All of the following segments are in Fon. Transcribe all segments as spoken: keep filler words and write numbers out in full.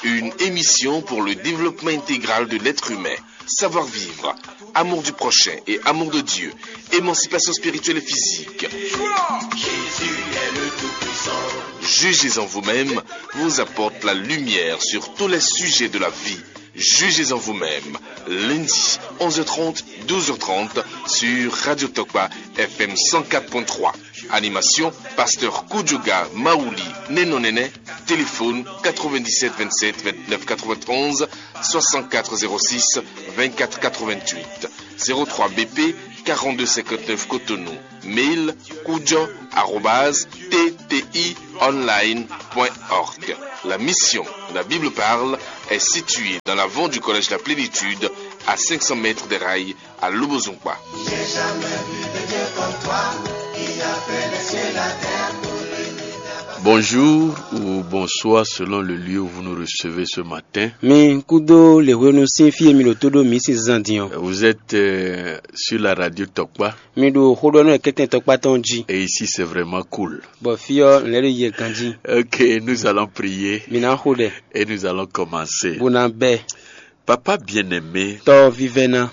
Une émission pour le développement intégral de l'être humain. Savoir-vivre, amour du prochain et amour de Dieu, émancipation spirituelle et physique. Jugez en vous-même vous apporte la lumière sur tous les sujets de la vie. Jugez en vous-même, lundi, onze heures trente, douze heures trente, sur Radio Tokpa, F M cent quatre point trois. Animation, pasteur Kudjoga Maouli Nenonene. Téléphone quatre-vingt-dix-sept vingt-sept vingt-neuf quatre-vingt-onze, soixante-quatre zéro six vingt-quatre quatre-vingt-huit, zéro trois B P quarante-deux cinquante-neuf Cotonou. Mail kudjo arobase T T I online point org. La mission, la Bible parle, est située dans l'avant du collège La Plénitude, à cinq cents mètres des rails, à Lobozonkpa. Bonjour ou bonsoir selon le lieu où vous nous recevez ce matin. Mi kúdó lěhwenu sín fí e mi ɖo tó ɖó mǐ sín zan din ɔ́. Vous êtes euh, sur la radio Tokpa. Mi ɖo xó ɖɔ nú kɛ́tɛn tɔkpá tɔn jí. Et ici, c'est vraiment cool. Bɔ fí ɔ́ nǔ lɛ́ɛ ɖo yɛ ganjí. Ok, nous allons prier. Mi ná xo ɖɛ. Et nous allons commencer. Bó ná bɛ́. Papa bien-aimé, tɔ vívɛ́ná.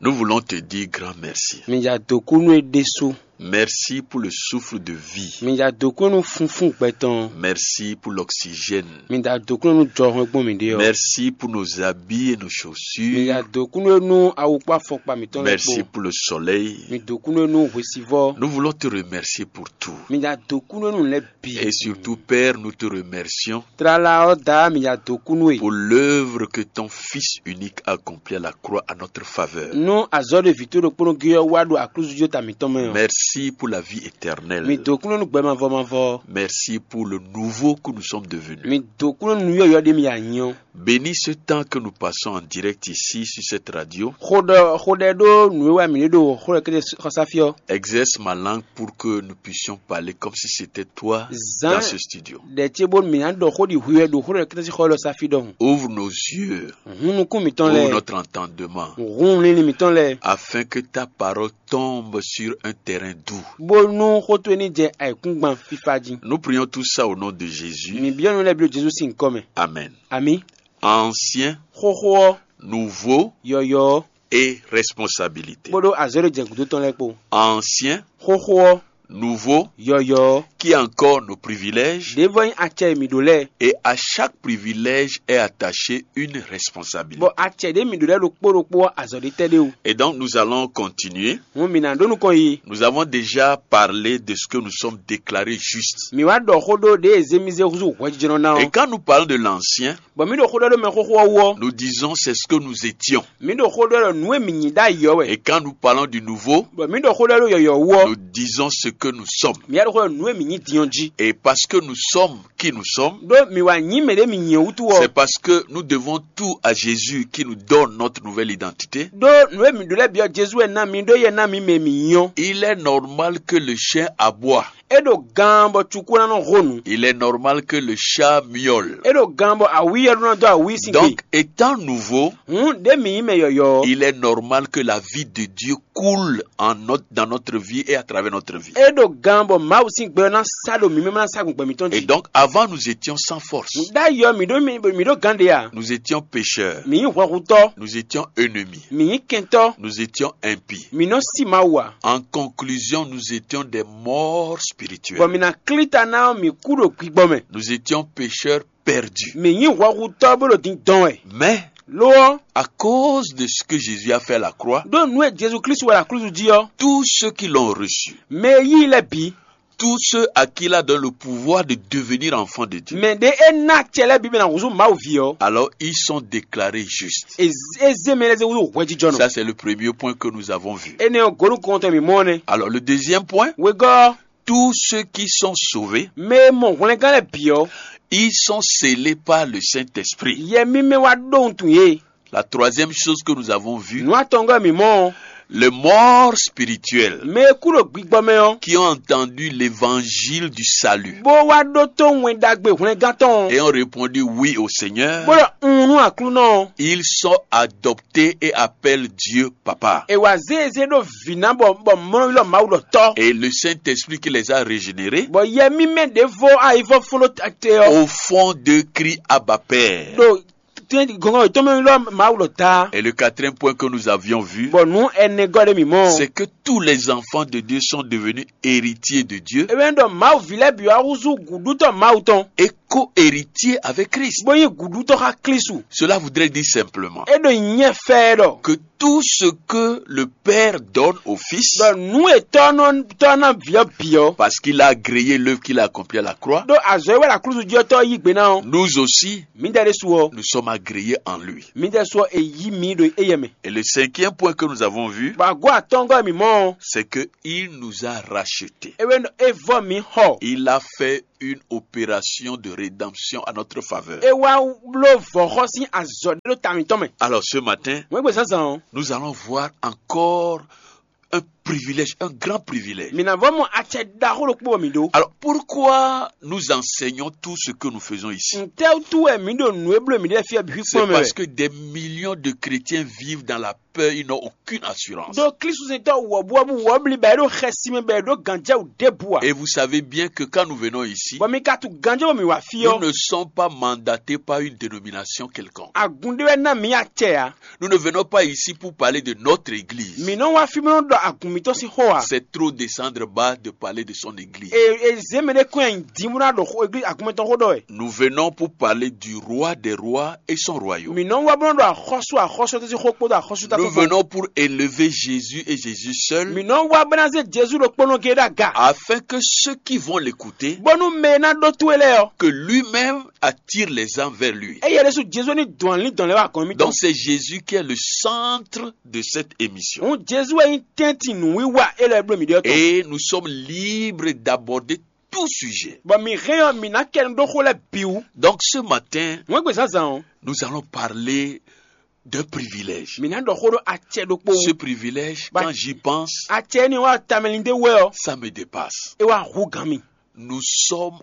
Nous voulons te dire grand merci. Mi ja dǒ kú nú é ɖésú. Merci pour le souffle de vie. Mi ja dǒ kú nú funfún gbɛ tɔn. Merci pour l'oxygène. Mi ja dǒ kú nú jɔhɔn e gbɔn mi ɖe ɔ́. Merci pour nos habits et nos chaussures. Mi ja dǒ kú nú é nú awu kpó afɔkpa mitɔn lɛ́ɛ. Merci kpó pour le soleil. Mi dǒ kú nú é nú hwesivɔ́. Nous voulons te remercier pour tout. Mi ja dǒ kú nú é nú lɛ́ɛ bǐ. Et surtout, Père, nous te remercions. Tlala ɔ́, Daá, mi ja dǒ kú nú é. Pour l'œuvre que ton Fils unique a accomplie à la croix à notre faveur. Nú azɔ̌ ɖe vǐ towe ɖokpónɔ gé ɔ́ wá ɖo aklúzu jí ta mǐtɔn mɛ ɔ́. Merci pour la vie éternelle. Mi dǒ kú nú gbɛ mavɔ mavɔ. Merci pour le nouveau que nous sommes devenus. Mi dǒ kú nú nǔ yɔ̌yɔ́ ɖé mi ya nyí ɔ́. Bénis ce temps que nous passons en direct ici sur cette radio. Xo ɖɔ xo ɖɛ ɖó nǔ e wɛ mi ɖe ɖo xó ɖɔ kéde xɔsáfí ɔ́. Exerce ma langue pour que nous puissions parler comme si c'était toi dans ce studio. Ɖɛ ce bónú mǐ ná ɖɔ xó ɖi hwi wɛ ɖo xó ɖɔ kéde xɔ élɔ́ sáfí ɖɔhun. Ouvre nos yeux. Hun nukún mitɔn lɛ́ɛ. Ouvre notre entendement. Hun linlin mitɔn lɛ́ɛ. Afin que ta parole tombe sur un terrain doux. Bónú xó towe ní jɛ ayǐkúngban fífá jí. Nous prions tout ça au nom de Jésus. Mi byɔ́ nú lɛ́ɛ byɔ́ Jezu sín nyǐkɔ mɛ. Amen. Ami. Ancien. Xóxó ɔ́. Nouveau. Yɔyɔ̌. Et responsabilité. Kpódó azɔ̌ e jɛ gǔdo tɔn lɛ́ɛ kpó. Ancien. Xóxó ɔ́. Nouveau. Yɔyɔ̌. Qui a encore nos privilèges. Ɖěvɔ nyí acɛ e mǐ ɖó lɛ́ɛ. Et à chaque privilège est attachée une responsabilité. Bɔ acɛ ɖě mǐ ɖó lɛ́ɛ ɖokpó ɖokpó ɔ́, azɔ̌ ɖé tɛ́ ɖé o. Et donc nous allons continuer. Hǔn mǐ ná ɖó nukɔn yi. Nous avons déjà parlé de ce que nous sommes déclarés justes. Mǐ wá ɖɔ xó ɖó ɖě e zé mì zé húzú hwɛjijɔnɔ ná ɔ́. Et quand nous parlons de l'ancien, bɔ mǐ ɖo xó ɖɔ ɖó mɛxóxó ɔ́ wú ɔ́. Nous disons c'est ce que nous étions. Mǐ ɖo xó ɖɔ ɖɔ nǔ e mǐ nyí ɖ'ayǐ ɔ́ wɛ. Et quand nous parlons du nouveau, bɔ mǐ ɖo xó ɖɔ ɖó yɔyɔ̌ wú ɔ́. Nous disons ce que nous sommes. Mǐ wá ɖo xó ɖɔ nǔ e mǐ nyí din ɔ́ jí. Et parce que nous sommes qui nous sommes, ɖó mǐ wá nyí mɛ ɖě mǐ nyí ɔ́ wútu ɔ́. C'est parce que nous devons tout à Jésus qui nous donne notre nouvelle identité. Ɖó nǔ e mǐ ɖó lɛ́ɛ byɔ́ Jezu wɛ ná mǐ ɖó yɛ ná mǐ mɛ mǐ nyí ɔ́. Il est normal que le chien aboie. É ɖo gan bɔ cukú ná nɔ hó nǔ. Il est normal que le chat miaule. É ɖo gan bɔ awǐ ɔ́ ɖó ná dó awǐ sín gbe. Donc, étant nouveau, hǔn ɖě mǐ nyí mɛ yɔ̌yɔ́ ɔ́. Il est normal que la vie de Dieu coule en notre, dans notre vie et à travers notre vie. É ɖo gan bɔ Mawu sín gbɛ ɔ́ ná sá ɖo mǐ mɛ ná sá gbɔn gbɛ mǐtɔn jí. Et donc, avant, nous étions sans force. Ɖ'ayǐ ɔ́, mǐ ɖó mǐ ɖó gán ɖé a? Nous étions pécheurs. Mǐ nyí hwɛhutɔ́. Nous étions ennemis. Mǐ nyí kɛntɔ́. Nous étions impies. Mǐ nɔ sí Mawu ǎ. En conclusion, nous étions des morts spirituels. Bɔ mǐ ná klí ta ná ɔ́, mǐ kú ɖo gbigbɔ mɛ. Nous étions pécheurs perdus. Mǐ nyí hwɛhutɔ́ bó ɖo din dɔn wɛ. Mais, lo ɔ́, à cause de ce que Jésus a fait à la croix, ɖó nǔ e Jezu Klísu wa ɖo aklúzu jí ɔ́, tous ceux qui l'ont reçu, mɛ e yí i lɛ́ɛ bǐ, tous ceux à qui il a donné le pouvoir de devenir enfants de Dieu, mɛ ɖě é ná acɛ lɛ́ɛ bǐ bɔ è nǎ húzú Mawu ví ɔ́, alors ils sont déclarés justes. É zé mɛ lɛ́ɛ zé húzú hwɛjijɔnɔ. Ça, c'est le premier point que nous avons vu. Énɛ́ ɔ́, gǒ nukɔntɔn mǐ mɔ ɔ́ nɛ́. Alors, le deuxième point, wegɔ́ ɔ́, tous ceux qui sont sauvés, mɛ e mɔ hwlɛngán lɛ́ɛ bǐ ɔ́, ils sont scellés par le Saint-Esprit. Yɛ mímɛ́ wá ɖó wuntun yě. La troisième chose que nous avons vue, Nǔ atɔngɔ́ e mǐ mɔ ɔ́, les morts spirituels mɛ e kú ɖo gbigbɔ mɛ ɔ́, qui ont entendu l'évangile du salut bó wá ɖótó wɛn ɖagbe hwlɛngán tɔn ɔ́, et ont répondu oui au Seigneur, bó ɖɔ un nú Aklúnɔ ɔ́, ils sont adoptés et appellent Dieu Papa. è wǎ zé e zé ɖó vǐ ná bɔ bɔ mlɔ́ylɔ́ Mawu ɖɔ tɔ́. Et le Saint-Esprit qui les a régénérés, Bɔ yɛ mímɛ́ ɖěvo ayivɔ́ fún ɖó te ɔ́, au fond d'eux, crie Abba Père. Ɖo gɔngɔn yětɔn mɛ ylɔ́ Mawu ɖɔ ta. Et le quatrième point que nous avions vu, Bɔ nǔ ɛnɛgɔ́ ɖé mǐ mɔ. C'est que tous les enfants de Dieu sont devenus héritiers de Dieu. Ewé ɖɔ Mawu ví lɛ́ɛ bǐ wá húzú gǔɖútɔ́ Mawu tɔn, Et co-héritiers avec Christ. Bó nyí gǔɖútɔ́ xá Klísu. Cela voudrait dire simplement É ɖo nyɛ fɛ ɖɔ que tout ce que le Père donne au Fils, ɖɔ nǔ e tɔ́ nɔ tɔ́ ná vǐ ɔ́ bǐ ɔ́, parce qu'il a agréé l'œuvre qu'il a accomplie à la croix, ɖó azɔ̌ e wɛ ɖo aklúzu jí ɔ́ tɔ́ yí gbe ná ɔ́, nous aussi, mǐdɛɛ ɖésú ɔ́, nous sommes agréés en lui. Mǐdɛɛ ɖésú ɔ́, è yí mǐ ɖo éyɛ mɛ. Et le cinquième point que nous avons vu, Bɔ agɔ̌ atɔ́ngɔ́ e mǐ mɔ ɔ́, c'est que il nous a rachetés. É wɛ ɖɔ é vɔ́ mǐ xɔ. Il a fait une opération de rédemption à notre faveur. É wá bló vɔ̌xɔ sín azɔ̌ ɖé ɖó ta mǐtɔn mɛ. Alors ce matin, Wɛ́ngbè zǎnzǎn ɔ́, nous allons voir encore un privilège, un grand privilège. mǐ ná vɔ́ mɔ acɛ ɖaxó ɖokpó bɔ mǐ ɖó. Alors pourquoi nous enseignons tout ce que nous faisons ici? Ntɛ́wútu wɛ mǐ ɖo nǔ e bló mǐ ɖe fí ɔ́ bǐ C'est kpɔ́n mɛ parce wɛ? Que des millions de chrétiens vivent dans la peur, ils n'ont aucune assurance. Ɖó Klísusɛntɔ́ wɔ̌buwɔ́bú wɔ̌blí bɔ é ɖo xɛsi mɛ bɔ é ɖó gǎnjɛwú ɖěbǔ ǎ. Et vous savez bien que quand nous venons ici, Bɔ mi ka tunwun gǎnjɛwú mǐ wá fí nous ɔ́, ne sommes pas mandatés par une dénomination quelconque. agun ɖé wɛ ná mǐ acɛ ǎ. Nous ne venons pas ici pour parler de notre église. Mǐ nɔ wá fí bó nɔ ɖɔ agun mǐtɔn sín xó ǎ. C'est trop descendre bas de parler de son église. E e zě mɛ ɖé kɔn nyi din bó ná ɖo xó- église agun mɛtɔn xó ɖɔ wɛ. Nous venons pour parler du roi des rois et son royaume. Mǐ nɔ wá bó nɔ ɖɔ axɔ́sú axɔ́sú tɔn sín xó kpódó axɔ́sú ta Nous tɔn kpó. Venons pour élever Jésus et Jésus seul, Mǐ nɔ wá bó ná zé Jezu ɖokpónɔ géé ɖó aga. Afin que ceux qui vont l'écouter Bónú mɛ e ná ɖó towe lɛ́ɛ ɔ́, que lui-même attire les gens vers lui. éyɛ́ ɖésú Jezu ní dɔn alín dɔn lɛ́ wá gɔ̌n mì tɔn. Donc c'est Jésus qui est le centre de cette émission. Òun Jezu wɛ nyí tɛ́ntin nǔwiwa élɔ́ e bló mǐ ɖe ɔ́ tɔn. Et nous sommes libres d'aborder tout sujet. Bɔ mǐ hɛn ɔ́, mǐ ná kɛ nu ɖó xó lɛ́ɛ bǐ wú. Donc ce matin, Wɛ́ngbè zǎnzǎn ɔ́, nous allons parler d'un privilège. Mǐ ná ɖɔ xó ɖó acɛ ɖokpó Ce wú. Privilège, Bah- quand j'y pense, Acɛ énɛ́ wá tamɛlinde wɛ ɔ́, ça me dépasse. é wá hú gǎn mì. Nous sommes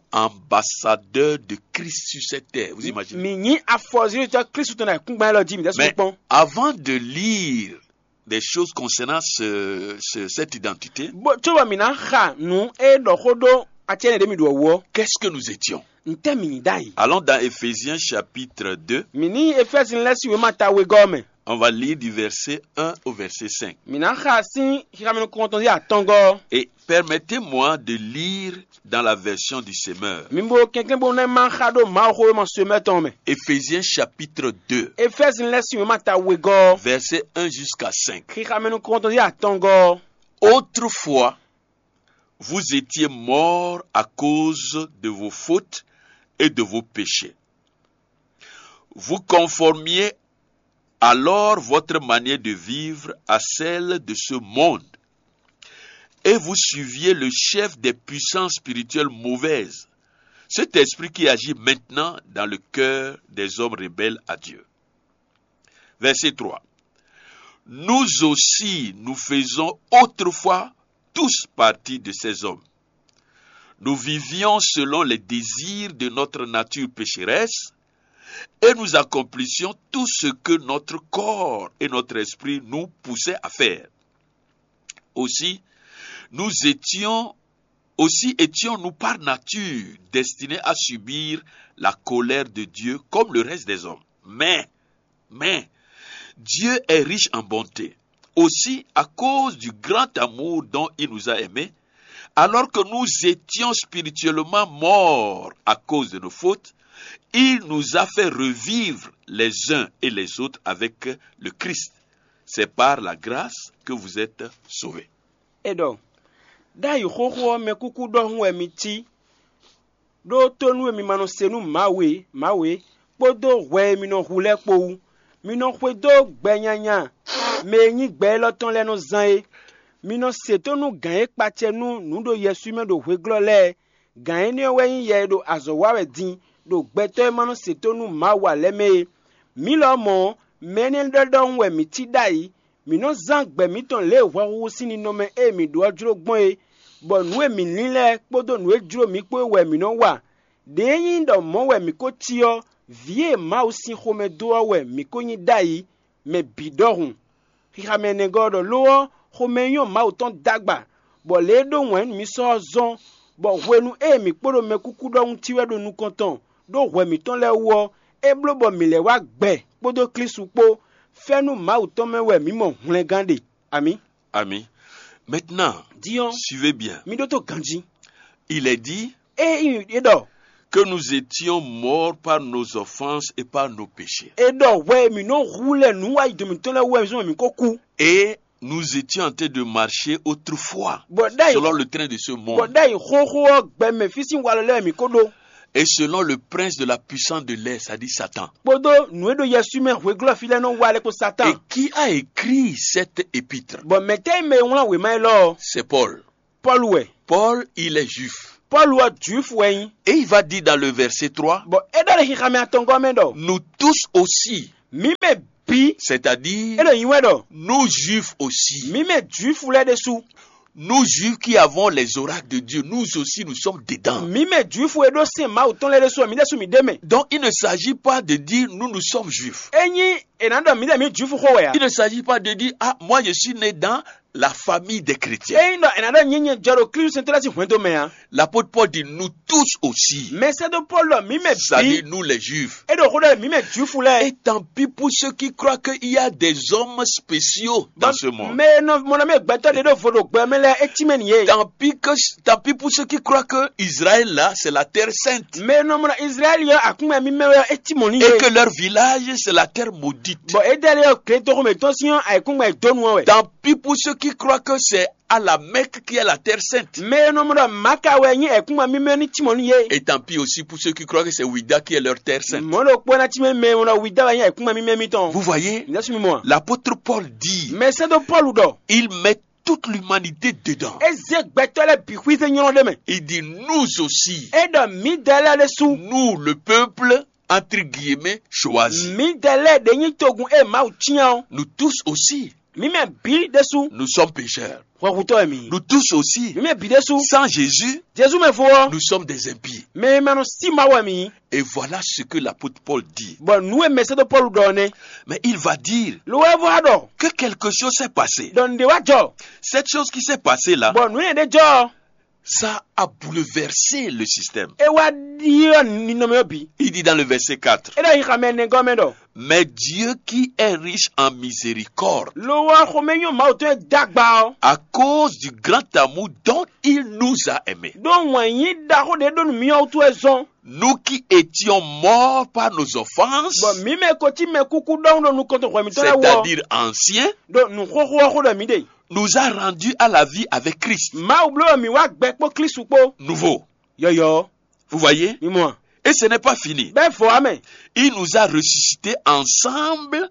ambassadeurs de Christ sur cette terre. Vous imaginez? Mǐ nyí afɔzílítɔ́ Klísu tɔn ɖo ayǐkúngban élɔ́ jí mǐ ɖɛ́ Mais sukpɔ́n. Avant de lire des choses concernant ce- ce- cette identité, Bó cóbɔ mǐ ná xa nǔ e ɖɔ xó ɖó acɛ énɛ́ ɖě mǐ ɖu ɔ́ wú ɔ́, qu'est-ce que nous étions? ntɛ́ mǐ nyí ɖ'ayǐ? Allons dans Éphésiens chapitre deux, Mǐ ní Efɛ́zin lɛ́ɛ sín wěma ta wegɔ́ ɔ́ mɛ. On va lire du verset un au verset cinq. Mǐ ná xa sín xixamɛ nukɔntɔn sín atɔngɔ́. Et permettez-moi de lire dans la version du semeur. Mi bo kɛnklɛ́n bónú é má xa ɖó Mawuxówéma sɔmɛ tɔn mɛ. Éphésiens chapitre deux, Efɛ́zin lɛ́ɛ sín wěma ta wegɔ́, verset un jusqu'à cinq. Xixamɛ nukɔntɔn sín atɔngɔ́. Autrefois, vous étiez morts à cause de vos fautes et de vos péchés. Vous conformiez alors votre manière de vivre à celle de ce monde, et vous suiviez le chef des puissances spirituelles mauvaises, cet esprit qui agit maintenant dans le cœur des hommes rebelles à Dieu. Verset trois. Nous aussi, nous faisons autrefois tous partie de ces hommes. Nous vivions selon les désirs de notre nature pécheresse et nous accomplissions tout ce que notre corps et notre esprit nous poussaient à faire. Aussi, nous étions, aussi étions-nous par nature destinés à subir la colère de Dieu comme le reste des hommes. Mais, mais, Dieu est riche en bonté. Aussi, à cause du grand amour dont il nous a aimés, alors que nous étions spirituellement morts à cause de nos fautes, il nous a fait revivre les uns et les autres avec le Christ. C'est par la grâce que vous êtes sauvés. É ɖɔ: Ɖ'ayǐ xóxó ɔ́, mɛkúkú ɖɔhun wɛ mi cí, ɖó tónú e mi ma nɔ se nú Mawu e, Mawu é, kpódó hwɛ e mi nɔ hu lɛ́ɛ kpó wú. Mi nɔ xwedó gbɛ nyanya mɛ e nyí gbɛ élɔ́ tɔn lɛ́ɛ nɔ zán é. Mi nɔ se tónú gǎn e kpacɛ nú nǔ ɖo yɛswí mɛ ɖo hweglɔ́ lɛ́ɛ. Gǎn énɛ́ ɔ́ wɛ nyí yɛ e ɖo azɔ̌ wa wɛ din ɖo gbɛtɔ́ e ma nɔ se tónú Mawu ǎ lɛ́ɛ mɛ é. Mǐ lɔmɔ̌ ɔ́, Mɛ énɛ́ ɖɔ ɖɔhun wɛ mǐ cí ɖ'ayǐ; mǐ nɔ́ zán gbɛ mǐtɔn lě e hwɛhuhu sín ninɔmɛ e mǐ ɖó ɔ́ jló gbɔn é, bɔ nǔ e mǐ lín lɛ́ɛ kpódó nǔ e jló mǐ kpó é wɛ mǐ nɔ́ wa. Đě e nyí ɖɔ mɔ̌ wɛ mǐ ko cí ɔ́, vǐ e Mawu sín xomɛ dó ɔ́ wɛ mǐ ko nyí ɖ'ayǐ, mɛ bǐ ɖɔhun. Xixa mɛ ɛnɛgɔ́ ɔ́ ɖɔ: Lo ɔ́, xomɛ e nyɔ́ Mawu tɔn d'agba, bɔ lě e ɖó wǎn nú mǐ sɔ ɔ́ zɔ́n, bɔ hwenu e mǐ kpo ɖo mɛkúkú ɖɔhun cí wɛ ɖo nukɔn tɔn ɖó hwɛ mǐtɔn lɛ́ɛ wú ɔ́, é bló bɔ mǐ lɛ́ wá gbɛ kpódó Klísu kpó. Fɛ́nú Mawu tɔn mɛ wɛ mǐ mɔ hwlɛngán ɖe. Amǐ. Amis. Maintenant, Din ɔ́, suivez bien. Mi ɖótó ganjí. Il est dit Ée é ɖɔ que nous étions morts par nos offenses et par nos péchés. É ɖɔ hwɛ e mǐ nɔ hu lɛ nǔ wa yi do mǐtɔn lɛ́ɛ wú wɛ zɔn mǐ ko kú. Et nous étions en train de marcher autrefois, Bɔ ɖ'ayǐ selon le train de ce bɔ monde. Ɖ'ayǐ xóxó ɔ́ gbɛ mɛ fí sín walɔ lɛ́ɛ mǐ ko ɖó. Et selon le prince de la puissance de l'air, c'est-à-dire Satan. Kpódó nǔ e ɖo yɛswí mɛ hweglɔ́ fí lɛ́ɛ nɔ wa lɛ́ kpó Satan. Et qui a écrit cette épître? Bɔ mɛ̌tɛ́ e mɛ e wlán wěma élɔ́ ɔ́? C'est Paul. Pɔ́lu wɛ. Paul, il est juif. Pɔ́lu ɔ́ Jwifu wɛ nyí. Et il va dire dans le verset trois, Bɔ é ɖɔ ɖo xixamɛ atɔngɔ́ mɛ ɖɔ: Nous tous aussi, mǐ mɛ bǐ, c'est-à-dire é ɖo nyi wɛ ɖɔ: Nous juifs aussi, mǐ mɛ Jwifu lɛ́ɛ ɖésú, nous juifs qui avons les oracles de Dieu, nous aussi nous sommes dedans. Mǐ mɛ Jwifu e ɖó sɛ́n Mawu tɔn lɛ́ɛ ɖésú ɔ́, mǐ ɖésú mǐ ɖ'é mɛ. Donc il ne s'agit pas de dire nous, nous sommes juifs. É nyí è nǎ ɖɔ mǐ ɖɔ mǐ Jwifu xó wɛ ǎ. Il ne s'agit pas de dire, ah, moi je suis né dans la famille des chrétiens. É nyí ɖɔ è nǎ ɖɔ nyɛ nyɛ jɔ ɖo Klísu sɛntɔ́ lɛ́ɛ sín hwɛndo mɛ ǎ. L'apôtre Paul dit, nous tous aussi. Mɛsɛ́dó Pɔ́lu ɖɔ mǐ mɛ C'est-à-dire bǐ. Nous les juifs. É ɖo xó ɖɔ mǐ mɛ Jwifu lɛ́ɛ. Et tant pis pour ceux qui croient qu'il y a des hommes spéciaux dans ce monde. Mɛ e nɔ mɔ nɔ mɛ gbɛtɔ́ ɖe ɖo vo ɖo gbɛ mɛ lɛ́ɛ é cí mɛ n'i yé. Tant pis que, tant pis pour ceux qui croient que Israël là, c'est la terre sainte. Mɛ e nɔ mɔ nɔ Izlayɛ́li ɔ́ akúnmɛ mímɛ́ wɛ ɔ́ é cí mɔ̌ n'i Et yé. Que leur village, c'est la terre maudite. Bɔ Edɛli ɔ́ gletoxo mǐtɔn sín ɔ́ ayǐkúngban e dó nu ɔ́ wɛ. Tant pis pour ceux qui croient que c'est à la Mecque qui est la terre sainte. Mɛ e nɔ mɔ ɖɔ Maka wɛ nyí ayǐkúngban mímɛ́ ní cí mɔ̌ n'i yé. Et tant pis aussi pour ceux qui croient que c'est Ouidah qui est leur terre sainte. Mɔ̌ ɖokpó ná cí mɛ mɛ e nɔ ɖɔ Wida wɛ nyí ayǐkúngban mímɛ́ mitɔn. Vous voyez, Nya sú mi mɔ a? L'apôtre Paul dit, Mɛ sɛ́dó Pɔ́lu ɖɔ il met toute l'humanité dedans. É zé gbɛtɔ́ lɛ́ɛ bǐ xwízé nylɔ́ ɖé mɛ. Il dit, nous aussi, É ɖɔ mǐdɛɛ lɛ́ɛ ɖésú. Nous, le peuple, entre guillemets, choisi. Mǐdɛɛ lɛ́ɛ ɖě nyí togun e Mawu cyán ɔ́. Nous tous aussi, Mǐ mɛ bǐ ɖésú. Nous sommes pécheurs. Hwɛhutɔ́ wɛ mǐ. Nous tous aussi, Mǐ mɛ bǐ ɖésú. Sans Jésus, Jezu mɛ vo ɔ́, Nous sommes des impies. Mɛ e ma nɔ sí Mawu wɛ mǐ nyí. Et voilà ce que l'apôtre Paul dit. Bɔ nǔ e mɛsɛ́dó Pɔ́lu ɖɔ ɔ́ nɛ́. Mais il va dire Lo wɛ vɔ wá ɖɔ que quelque chose s'est passé. Ɖɔ nǔɖé wá jɔ. Cette chose qui s'est passée là, Bɔ nǔ énɛ́ ɖé jɔ ɔ́, ça a bouleversé le système. É wá ɖyɔ́ ninɔmɛ ɔ́ bǐ. Il dit dans le verset quatre, É ɖɔ nyi xamɛ nɛgɔ́ mɛ ɖɔ: Mais Dieu qui est riche en miséricorde, Lo ɔ́, xomɛnyɔ Mawu tɔn e dó agba ɔ́, à cause du grand amour dont il nous a aimés, ɖó wǎn yí ɖaxó ɖé ɖó nú mì ɔ́ wútu wɛ zɔ́n. Nous qui étions morts par nos offenses, Bɔ mǐ mɛ ko cí mɛ kúkú ɖɔhun ɖo nukɔn tɔn hwɛ mǐtɔn lɛ́ɛ wú ɔ́, c'est-à-dire anciens, ɖo nǔxoxo ɔ́ xó ɖɔ mǐ ɖe. Nous a rendus à la vie avec Christ. Mawu bló wɛ mǐ wá gbɛ kpó Klísu kpó. Nouveau. Yɔyɔ̌. Vous voyez? Mi mɔ a? Et ce n'est pas fini. Bɛ́ vɔ̌ wá mɛ. Il nous a ressuscités ensemble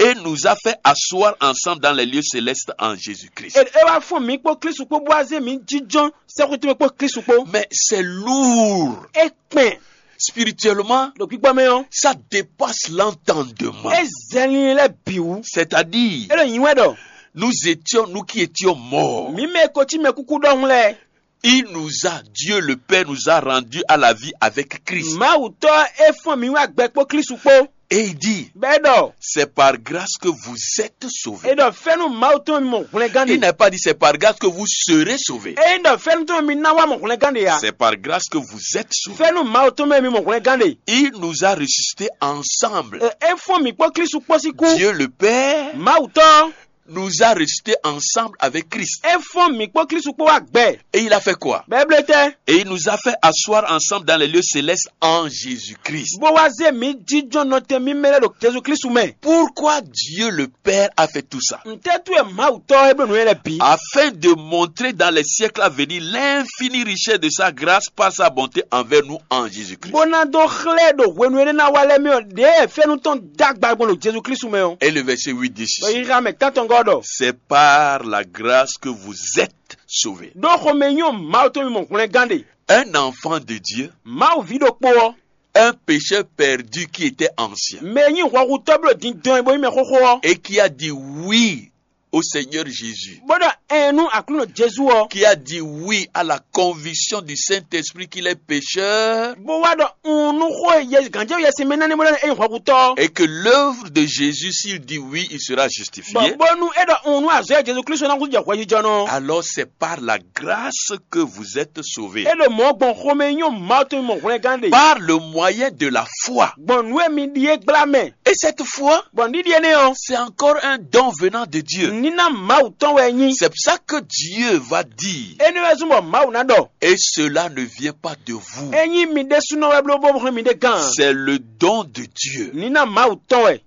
et nous a fait asseoir ensemble dans les lieux célestes en Jésus-Christ. É é wá fún mǐ kpó Klísu kpó bó wá zé mǐ jínjɔ́n sɛ́xwé tɔn mɛ kpó Klísu kpó. Mais c'est lourd. É kpɛn. Spirituellement, Ɖo gbígbɔ mɛ ɔ́, Ça dépasse l'entendement. É zɛ linlin lɛ́ɛ bǐ wú. C'est-à-dire, É ɖo nyǐ wɛ ɖɔ nous étions, nous qui étions morts. Mǐ mɛ e ko cí mɛ kúkú ɖɔhun lɛ́ɛ. Il nous a, Dieu le Père nous a rendus à la vie avec Christ. Mawu tɔ́ é fɔ́n mǐ wá gbɛ kpó Klísu kpó. Et il dit, Bɛ́ ɖɔ c'est par grâce que vous êtes sauvés. É ɖɔ fɛ́nú Mawu tɔn mi mɔ hwlɛngán Il ɖe. N'a pas dit c'est par grâce que vous serez sauvés. É ɖɔ fɛ́nú tɔn mi ná wá mɔ hwlɛngán ɖe ǎ. C'est par grâce que vous êtes sauvés. Fɛ́nú Mawu tɔn mɛ mi mɔ hwlɛngán ɖe. Il nous a ressuscités ensemble. Ɛ é fɔ́n mǐ kpó Klísu kpó sín kú. Dieu le Père Mawu tɔ́ nous a ressuscités ensemble avec Christ. É fɔ́n mǐ kpó Klísu kpó wá gbɛ. Et il a fait quoi? Bɛ́ blé tɛ́. Et il nous a fait asseoir ensemble dans les lieux célestes en Jésus-Christ. Bó wá zé mǐ jínjɔ́n nɔtɛn mímɛ́ lɛ́ɛ ɖo Jezu Klísu mɛ. Pourquoi Dieu le Père a fait tout ça? Ntɛ́ tú wɛ Mawu tɔ́ é bló nǔ nyɔ́ lɛ́ɛ bǐ? Afin de montrer dans les siècles à venir l'infinie richesse de sa grâce par sa bonté envers nous en Jésus-Christ. Bó ná dó xlɛ́ ɖo hwenu énɛ́ ná wá lɛ́ɛ mɛ ɔ́, ɖěe fɛ́nú tɔn dó agba gbɔn ɖo Jezu Klísu mɛ ɔ́. Et le verset huit dit Bɔ ceci. Yixa mɛ tántɔngɔ́ ɖɔ. C'est par la grâce que vous êtes sauvés. Ɖó xomɛ nyɔ́ Mawu tɔn mi mɔ hwlɛngán ɖe. Un enfant de Dieu Mawu ví ɖokpó ɔ́, un pécheur perdu qui était ancien, mɛ e nyí hwɛhutɔ́ bló dindɔn e bó nyí mɛ xóxó ɔ́, Et qui a dit oui au Seigneur Jésus, bó ɖɔ ɛn nú Aklúnɔ Jezu ɔ́, Qui a dit oui à la conviction du Saint-Esprit qu'il est pécheur, bó wá ɖɔ un nú xó e Yɛ- gǎnjɛwú Yɛsinsɛn mɛ ná ní bó ɖɔ é nyí hwɛhutɔ́, Et que l'œuvre de Jésus, s'il dit oui, il sera justifié. Bɔ bónú é ɖɔ un nú azɔ̌ e Jezu Klísu ná kú jɛ hwɛjijɔnɔ, Alors c'est par la grâce que vous êtes sauvés. É ɖo mɔ̌ gbɔn xomɛ nyɔ́ Mawu tɔn mɔ hwlɛngán ɖe. Par le moyen de la foi. Gbɔn nǔ e mi ɖi é gbla mɛ. Et cette foi, Gbɔn ɖiɖi énɛ́ ɔ́, c'est encore un don venant de Dieu. Níná Mawu tɔn wɛ é nyí. C'est pour ça que Dieu va dire, Énɛ́ wɛ zɔ́n bɔ Mawu ná ɖɔ, et cela ne vient pas de vous. É nyí mi ɖésúnɔ wɛ bló bó hɛn mi ɖé gán. C'est le don de Dieu. Níná Mawu tɔn wɛ.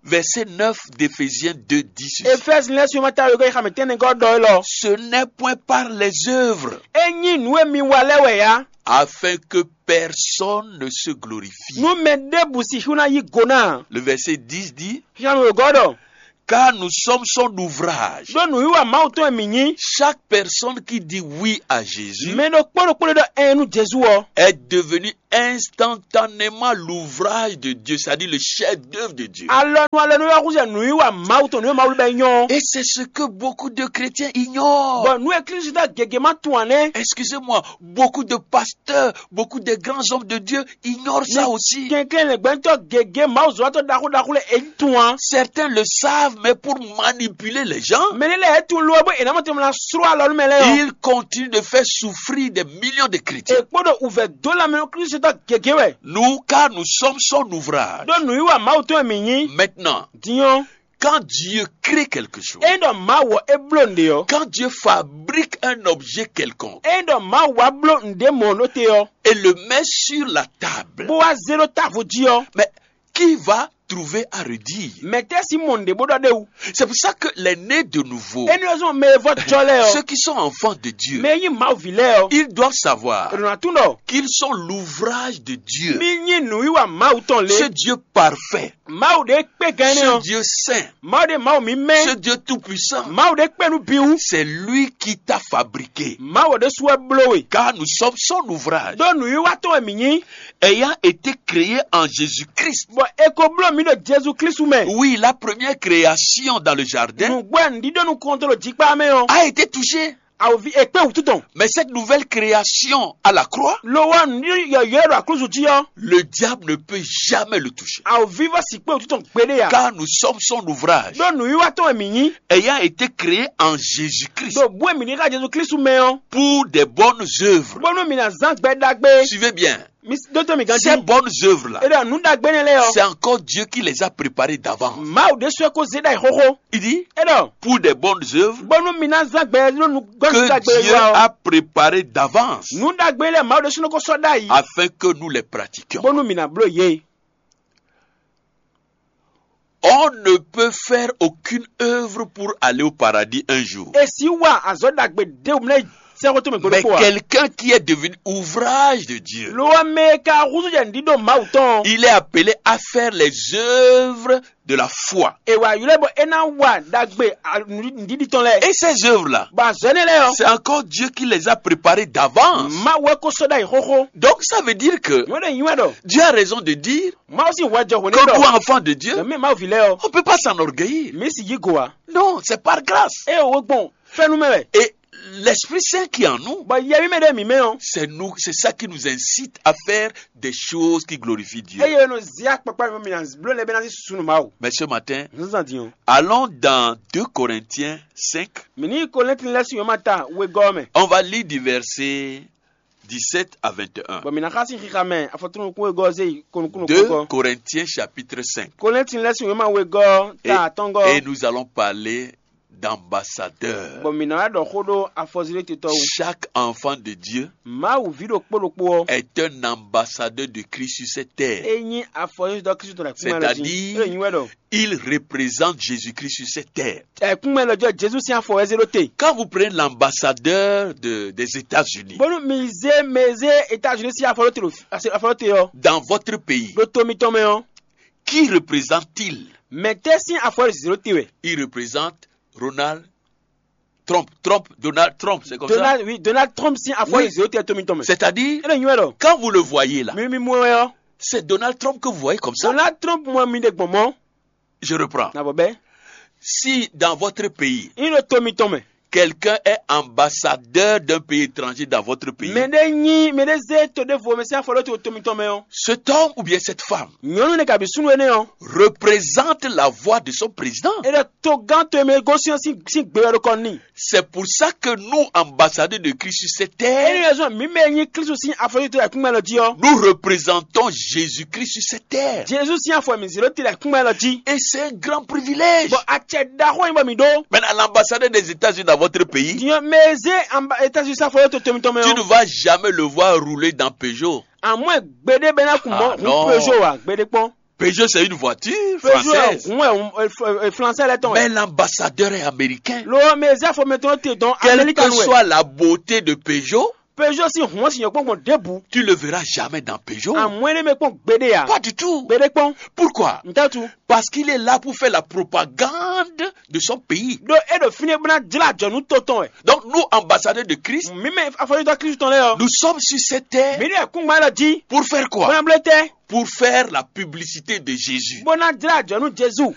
Verset neuf d'Éphésiens deux dix. Efɛ́zi lɛ́ɛ sɔ́ ma ta wegɔ́ yi xamɛ tɛ́nnɛgɔ́ ɖɔ élɔ́. Ce n'est point par les œuvres, É nyí nǔ e mi wa lɛ́ɛ wɛ ǎ. Afin que personne ne se glorifie. Nú mɛ ɖěbǔ sixú ná yí go ná. Le verset dix dit, Xixámɛ wegɔ́ ɖɔ, Car nous sommes son ouvrage. Ɖó nǔwiwa Mawu tɔn e mǐ nyí. Chaque personne qui dit oui à Jésus Mɛ ɖokpó ɖokpó ɖé ɖɔ ɛn nú Jezu ɔ́, est devenu instantanément l'ouvrage de Dieu, c'est-à-dire le chef-d'œuvre de Dieu. Alɔnu alɔnu wɛ húzɛ nǔwiwa Mawu tɔn nǔ e Mawu bɛ nyɔ́. Et c'est ce que beaucoup de chrétiens ignorent. Bɔ nǔ e Klísu da gěgé ma tunwun ǎ nɛ́. Excusez-moi, beaucoup de pasteurs, beaucoup de grands hommes de Dieu ignorent ça aussi. Kɛnklɛ́n lɛ̌ngbɛ́ntɔ́ gěgé Mawu zɔ́watɔ́ ɖaxó ɖaxó lɛ́ɛ é tunwun ǎ. Certains le savent, mais pour manipuler les gens, Mɛ nɛ́ lɛ́ɛ é tunwun lo ɔ́ bó è nǎ mɔ tɛnmɛ ná sló alɔnu mɛ lɛ́ɛ ɔ́. Ils continuent de faire souffrir des millions de chrétiens. È kpó ɖo wǔvɛ́ dó lanmɛ nú Klísu tɔn gěgé wɛ. Nous, car nous sommes son ouvrage. Ɖó nǔwiwa Mawu tɔn e mǐ nyí. Maintenant, Din ɔ́, quand Dieu crée quelque chose, ényí ɖɔ Mawu ɔ́ é bló nǔɖé ɔ́, quand Dieu fabrique un objet quelconque, ényí ɖɔ Mawu wá bló nǔɖé mɔ̌ ɖó te ɔ́, et le met sur la table, bó wá zé ɖó távo jí ɔ́, mais qui va trouver à redire? Mɛ̌ tɛ́ sín mɔ nǔɖé bó ɖɔ ɖ'é wú? C'est pour ça que les nés de nouveau, Énɛ́ ɔ́ zɔ́n mɛ e vɔ́ jɔ lɛ́ɛ ɔ́, ceux qui sont enfants de Dieu, Mɛ e nyí Mawu ví lɛ́ɛ ɔ́, Ils doivent savoir è ɖǒ ná tunwun ɖɔ qu'ils sont l'ouvrage de Dieu. Mí nyí nǔwiwa Mawu tɔn lě. Ce Dieu parfait, Mawu ɖě kpé gán énɛ́ Ce ɔ́, Dieu saint, Mawu ɖě Mawu mímɛ́, Ce Dieu tout-puissant, Mawu ɖě kpé nú bǐ wú. C'est lui qui t'a fabriqué. Mawu ɖésú wɛ bló we. Car nous sommes son ouvrage, Ɖó nǔwiwa tɔn wɛ mǐ nyí. Ayant été créé en Jésus-Christ. Bɔ è ko bló mǐ ɖo Jezu Klísu mɛ. Oui, la première création dans le jardin Nǔgbó e nǔɖíɖó nukɔntɔn ɖo jikpá mɛ ɔ́, a été touchée. Awǒvi è kpé wǔtu tɔn. Mais cette nouvelle création à la croix, Lo wá nǔɖíɖó yɔ̌yɔ́ e ɖo aklúzu jí ɔ́, Le diable ne peut jamais le toucher. Awǒvi vɔ́ sǐ kpé wǔtu tɔn gbeɖé ǎ. Car nous sommes son ouvrage. Ɖó nǔwiwa tɔn wɛ mǐ nyí. Ayant été créé en Jésus-Christ. Ɖo bǔ e mǐ ɖe xá Jezu Klísu mɛ ɔ́, Pour des bonnes œuvres. Bónú mǐ ná zán gbɛ ɖagbe. Suivez bien. Mi s- ɖótó mi gán Ces jí. Bonnes œuvres-là, É ɖɔ nǔ ɖagbe énɛ́ lɛ́ɛ ɔ́, C'est encore Dieu qui les a préparées d'avance. Mawu ɖésú wɛ ko zé ɖ'ayǐ xóxó. Il dit, É ɖɔ pour des bonnes œuvres bónú mi ná zán gbɛ ɖó nú gbɔn que ɖagbe Dieu wá ɔ́. A préparées d'avance Nǔ ɖagbe lɛ́ɛ Mawu ɖésú nɔ ko sɔ́ ɖ'ayǐ. Afin que nous les pratiquions. Bónú mi ná bló yě. On ne peut faire aucune œuvre pour aller au paradis un jour. È sǐ wa azɔ̌ ɖagbe ɖěbǔ mlɛ́ sɛ́xwé tɔn mɛ Mais gbeɖokpó ǎ. Quelqu'un qui est devenu ouvrage de Dieu, Lo ɔ́, mɛ e ka húzú jɛ nǔɖíɖó Mawu tɔn ɔ́, il est appelé à faire les œuvres de la foi. È wǎ ylɔ́ ɛ bɔ é ná wa ɖagbe a- nǔ- nǔɖiɖi tɔn lɛ́ɛ. Et ces œuvres-là, Bɔ azɔ̌ énɛ́ lɛ́ɛ ɔ́, C'est encore Dieu qui les a préparées d'avance. Mawu wɛ ko sɔ́ ɖ'ayǐ xóxó. Donc ça veut dire que Nyɔ̌ ɖe nyi wɛ ɖɔ Dieu a raison de dire Mawu sín hwɛ jɔ hwě que n'i nous, ɖɔ enfants de Dieu, Mɛ Mawu ví lɛ́ɛ ɔ́, on ne peut pas s'enorgueillir. Mǐ sì yí go ǎ. Non, c'est par grâce. É wǒ gbɔn fɛ́nú mɛ wɛ. Et l'Esprit Saint qui est en nous, Bɔ Yɛ mímɛ́ ɖé mǐ mɛ ɔ́, C'est nous, c'est ça qui nous incite à faire des choses qui glorifient Dieu. Eye nɔ zia kpakpa mɛ mi na bló lɛ bɛ na si sunu Mawu. Mais ce matin, Zan din o. Allons dans deux Corinthiens cinq. Mi ni Korinti lɛ si yɔn ma ta wegɔ mɛ. On va lire du verset dix-sept à vingt et un. Bɔn mi na xa si xixa mɛ afɔtunu kún wegɔ ze yi konukunu Deux kɔkɔ. Corinthiens chapitre cinq. Korinti lɛ si yɔn ma wegɔ Et, ta atɔngɔ. Et nous allons parler d'ambassadeurs. Bɔn mi na wá ɖɔ xó ɖo afɔzilé titɔ wu. Chaque enfant de Dieu Mawu ví ɖokpó ɖokpó ɔ́, Est un ambassadeur de Christ sur cette terre. E nyi afɔzilé tɔ Kristu tɔn ɖo akúmɛ lɔ jí. C'est-à-dire, E nyi wɛ ɖɔ. Il représente Jésus-Christ sur cette terre. Ɛkúnmɛ lɔ jɔ Jesu sín afɔ wɛ zé ɖó te. Quand vous prenez l'ambassadeur de, des États-Unis Bónú mi zé mɛ zé États-Unis sín afɔ ɖó te ɖo fi- ase- afɔ ɖó te ɔ́, dans votre pays, ɖo to mitɔn mɛ ɔ́, Qui représente-t-il? Mɛ̌tɛ́ sín afɔ wɛ zé ɖó te wɛ? Il représente Ronald Trump. Trump, Donald Trump, c'est comme Donald, ça. Oui, Donald Trump sín afɔ Oui. Zé ɖó te to mitɔn mɛ. C'est-à-dire, É ɖo nyi wɛ ɖɔ. Quand vous le voyez là, Mi mi mɔ wɛ ɔ́. C'est Donald Trump que vous voyez comme ça. Donald Trump mɔ mi ɖe gbɔn mɔ. Je reprends. Na bɔ bɛ. Si dans votre pays, yin ɖo to mitɔn mɛ. Quelqu'un est ambassadeur d'un pays étranger dans votre pays, Mɛ ɖe nyi mɛ ɖe zé to ɖěvo mɛ sín afɔ ɖó to to mitɔn mɛ ɔ́. Cet homme ou bien cette femme Nyɔnu ne kabi súnnu énɛ́ ɔ́. Représente la voix de son président. E ɖɔ togán to e mɛ gosín ɔ́ sín sín gbe wɛ ɖo kɔ n'i. C'est pour ça que nous, ambassadeurs de Christ sur cette terre, Énɛ́ zɔn mǐ mɛ e nyí Klísu sín afɔyíto ayǐkúngban lɔ jí ɔ́. Nous représentons Jésus-Christ sur cette terre. Jezu sín afɔ mǐ zé ɖó te ɖo ayǐkúngban lɔ jí. Et c'est un grand privilège. Bɔ acɛ ɖaxó nyí bɔ mǐ ɖó. Maintenant, l'ambassadeur des États-Unis dans votre pays, Dinyɔ mɛ e zé amba États-Unis sín afɔyíto to mitɔn mɛ tu ne ɔ́. Vas jamais le voir rouler dans Peugeot. Àmọ́ ẹ̀ gbeɖé bɛ ná kun mɔ Ah, hun non. Peugeot wa gbeɖé kpɔn. Peugeot, c'est une voiture Peugeot française. Hun ɛ flansɛ lɛ tɔn wɛ. Mais l'ambassadeur est américain. Lo mɛ e zé afɔ mɛ tɔn te dɔn Quelle Amérique que wɛ. Soit la beauté de Peugeot, Peugeot sín hun ɔ́ sì nyɔ kpɔ́n gbɔn ɖěbǔ. Tu le verras jamais dans Peugeot. Àmọ́ énɛ́ mɛ kpɔn gbeɖé ya. Pas du tout. Gbeɖé kpɔn. Pourquoi? Ntatu. Parce qu'il est là pour faire la propagande de son pays. Ɖó é ɖo fínɛ́ bó ná jlá ajɔ̌ nú to tɔn wɛ. Donc nous, ambassadeurs de Christ, Mǐ mɛ afɔyídɔ Kristu tɔn lɛ́ɛ ɔ́. Nous sommes sur cette terre Mǐ ɖo ayǐkúngban lɔ jí. Pour faire quoi? Bó ná bló tɛ́. Pour faire la publicité de Jésus. Bó ná jlá ajɔ̌ nú Jezu.